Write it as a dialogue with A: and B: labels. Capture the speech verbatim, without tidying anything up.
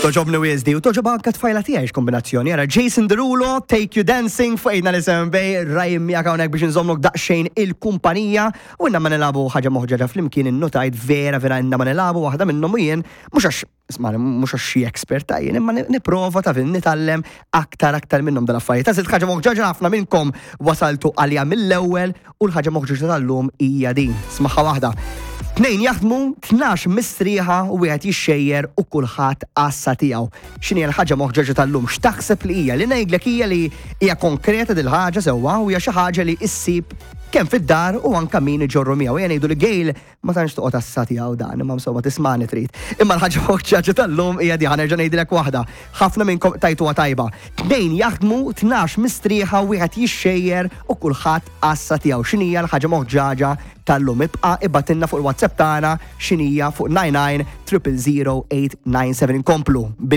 A: Togħġobni wisq di u togħġob anka t-tfajla tiegħi kombinazzjoni. Ara Jason Derulo, Take You Dancing fuq eight nine seven Bay, Ryan miegħek hawnhekk biex nżommlok daqsxejn il-kumpanija u inna ma nilagħbu ħaġa moħġaġa flimkien. Innotajt vera vera inna ma nilagħbu waħda minnhom u jien mhux għax, isma', mhux għax xi expert ta' jien, imma nipprova ta' fin nitgħallem aktar aktar minnhom dal-affarijiet. Għażilt ħaġa moħġaġa, ħafna minnkom wasaltu għalija mill-ewwel u l-ħaġa moħġaġa tal-lum hija din. Smaħħa waħda. Tnejn jaħdmu, tnax mistrieħa u wieħed jixxejjer u kulħadd għassa tiegħu. X'inhi l-ħaġa moħġaġa tal-lum? X'taħseb li hija? Li ngħidlek hija li hija konkreta dil-ħaġa sewwa u hija xi ħaġa li issib kemm fid-dar u anka min iġorru miegħu. Jien ngħidu li Gail ma tantx toqgħod għassa tiegħu dan, imma insomma tismani trid. Imma l-ħaġa moħġaġa tal-lum hija di, ħa nerġa' ngħidilek waħda. Ħafna minnkom tajtuha tajba. Tnejn jaħdmu, tnax mistrieħa, wieħed jixxejjer u kulħadd għassa tiegħu. X'inhija l-ħaġa moħġaġa tal-lum? Ibqa' ibgħatilna fuq il-WhatsApp tagħna x'inhija fuq nine nine triple zero eight nine seven. Inkomplu.